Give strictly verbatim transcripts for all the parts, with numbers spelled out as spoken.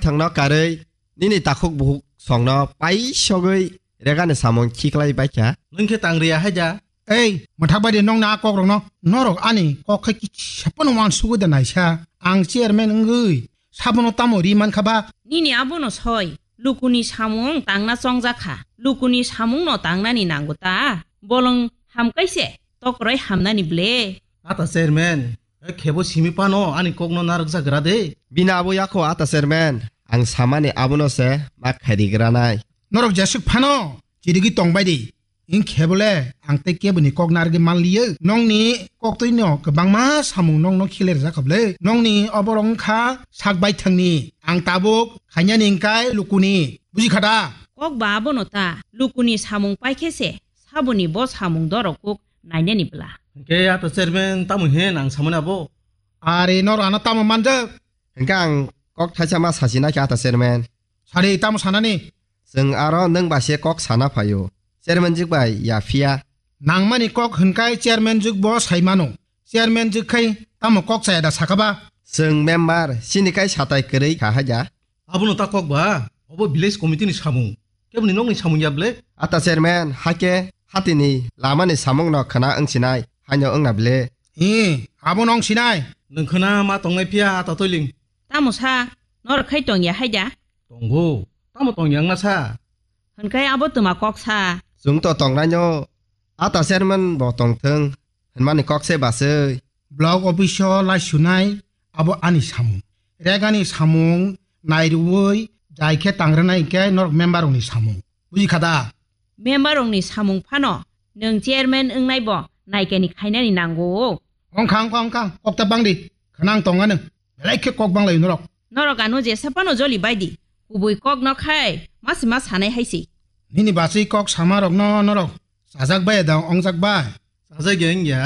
thangno karwi nini takhuk bukhuk songno paisogwi regani samung khiklai baikha. Nwng khe tang riya hai da? Ei, mwthak bai de nongni a kokrokno. Norok ani kok khai kisa phano uansugwi da naisa. Ang chairman wngwi sabono tamo ri mankha ba? Nini abono soi, lukuni samung tangna chongjak kha. Lukuni samungno tangnani nango ta? Bolong hamkai se, tokroi hamnani ble. Ata chairman, e khebo simi phano ani kokno narwkjak gra de. Bini abo yakho ata chairman, ang samani abono se ma khairi granai. Norok jesuk phano chirigwi tongbai di. Wng khe bole ang tei keboni kok narwgwi man liyo. Nongni koktwino kwbangma samung nongno khiler jakha bwle. Nongni oborok wngkha sak baithangni. Ang tabuk khainani wngkai lukuni. Buji kha da? Kok ba abono ta. Lukuni samung pai khe se saboni bo samung dorok kuk nainani bwla. Hwnkhe ato chairman tamo hin ang samani abo? Are nor ano tamo manjak? Hwnkhe ang kok thaisa ma sachina khe ata chairman. Sari tamo sanani? Chwng aro nwng bai se kok sana phaio. Chairman jwk bai ya phiya. Nangmani kok hwnkai chairman jwk bo sai mano. Chairman jwk khai tamo kok chaya da saka ba? Chwng member, chini kai satai kwrwi kha haja. Abono ta kok ba? Obo village committee ni samung. Keboni nokni samung ya ble? Ata chairman, hake hatini lamani samungno khna wngsinai, haino wngna ble? Hi, abono wngsinai. Nwng khna ma tongnai phiya ata toiling. Tamo sa, norok khai tongya haida? Tongo, tamo tongya wngna sa? Hwnkhai abo twma kok sa. Chwng to tongnaino, ata chairman bo tongthwng, hwnmani kok se baswi. Block office o laisunai abo ani samung. Regani samung nairuwi jai khe tangranai khe norok member rokni samung. Buji kha da? Member rokni samung phano nwng chairman wngnai bo naikani khainani nango. Ongkha, ongkha, ongkha, kok ta bangdi. Khwnang tonga nwng. Belai khe kok banglai norok. Norok ano jesa phano joli baidi. Kubui kok no khai masi ma sanai haisi. Nini baswi kok sama rokno norok chajak bai da ongjak bai? Chajak ya wngya.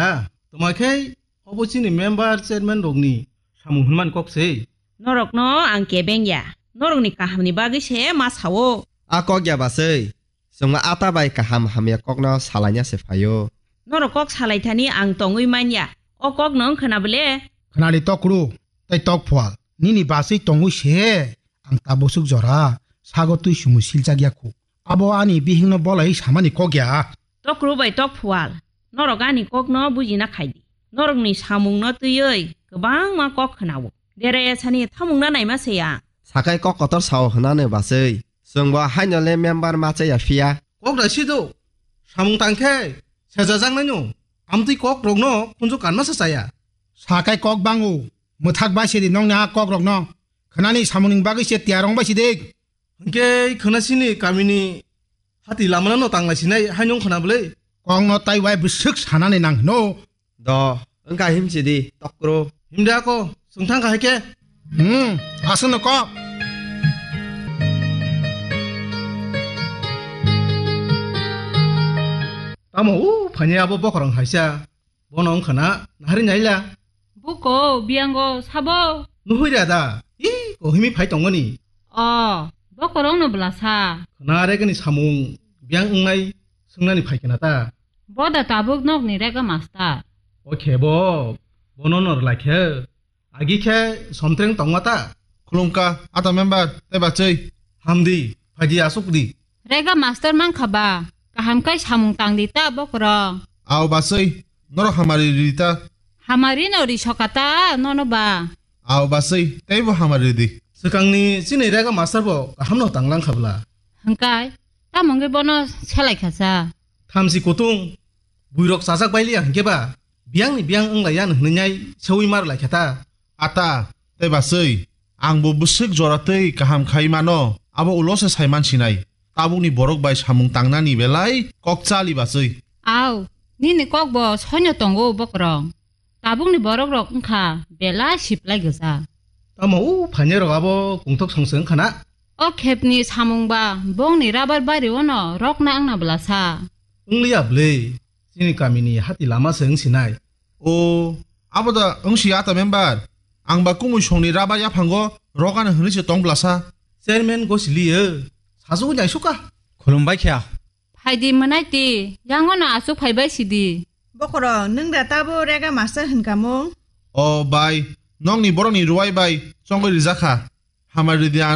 Toma khe obo chini member chairman rokni samung hwnmani kok se. Norokno ang kebeng ya. Norokni kahamni bagwi se ma sao. A kok ya baswi. Chwngma ata bai kaham hamya kokno salaina se phaio. Norok kok salai thani ang tongwi manya. O kokno wng khwna bwle? Khwnali tokru tei tok phual. Nini baswi tongwi se ang tabuk swk jora sago twi sumui siljak ya khu. Abo ani bihikno bolai samani kok ya. Tokru bai tok phual. Norok ani kokno bujina khaidi. Norokni samungno twiwi kwbangma kok khwnao. Deraya sani thamungna naima se ya. Sakai kok kotor sao hwnani baswi. Chwngbo haino le member ma chaya phiya. Kok da sido. Samung tangkhe sejajaknaino. Amtwi kok rokno khunju kanma se chaya. Sakai kok bango. Mwthak bai sidi nongni a kok rokno. Khwnani samungni bagwi se tiyar wng bai sidi. Hwnkhe khwna sini kamini hati lamano tangla sinai haino wng khwna bwle. Kokno tai wai bwswk sanani nang hino. Do, wngkha himsidi, tokro. Himda ko, chwng thang kha hai khe. Hmm, aswkno kok. Tamo u phani abo bokhorong haisa. Bono wngkha na, nahari naila. Buko, biyango, sabo. Nuhui da da. I, kohimi phai tongoni. O, bokhorong no bwlasa. Khwna regani samung, biyang wngnai, swngnani phai khe na ta. Boda tabuk nokni rega master. O khe bo, bono no rwlai khe. Agi khe somtreng tongma ta. Khulumkha, ata member, tei bachwi. Hamdi, phaidi asukdi. Rega master mankha ba, kaham khai samung tangdi ta bokhorong. Ao bachwi, norok hamari ridi ta. Hamari no ri soka ta, nono ba. Ao bachwi, teibo hamari ridi. Swkangni chini rega master bo kaham no tanglang kha bwla. Hwnkhe, tamo wngwi bono selai kha cha. Thamchi kutung, buirok chajak bai liya hwnkhe ba, biyangni biyang wng lai ya no hwnwi nai seui mar lai kha ta. Ata, tei bachwi, ang bo bwswk jora tei kaham khai mano, abo ulo se sai man sinai. Tabukni borok bai samung tangnani belai kok chali bachwi. Au, nini kok bo soino tongo bokhorong. Tabukni borok rok wngkha belai siplai gwja. Tamo u phainai rok abo kungthok song se wngkha na? O khepni samung ba bongni rabar bari o no rokna wngna bwlasa. Wngliya bwle, chini kamini hati lama se wngsinai. O, abo da wngsi ata member. Ang ba kumui songni rabar yaphango rokano hwnwi se tong bwlasa. Chairman gosiliyo, sajagwi naisukha. Khulumbai kha. Phaidi mwnaiti, yangono aswk phaibai sidi. Bokhorok, nwng da tabo rega master hwnkha mung? O bai, nokni borokni ruwai bai chongwi rijakha. Hamari ridi ano.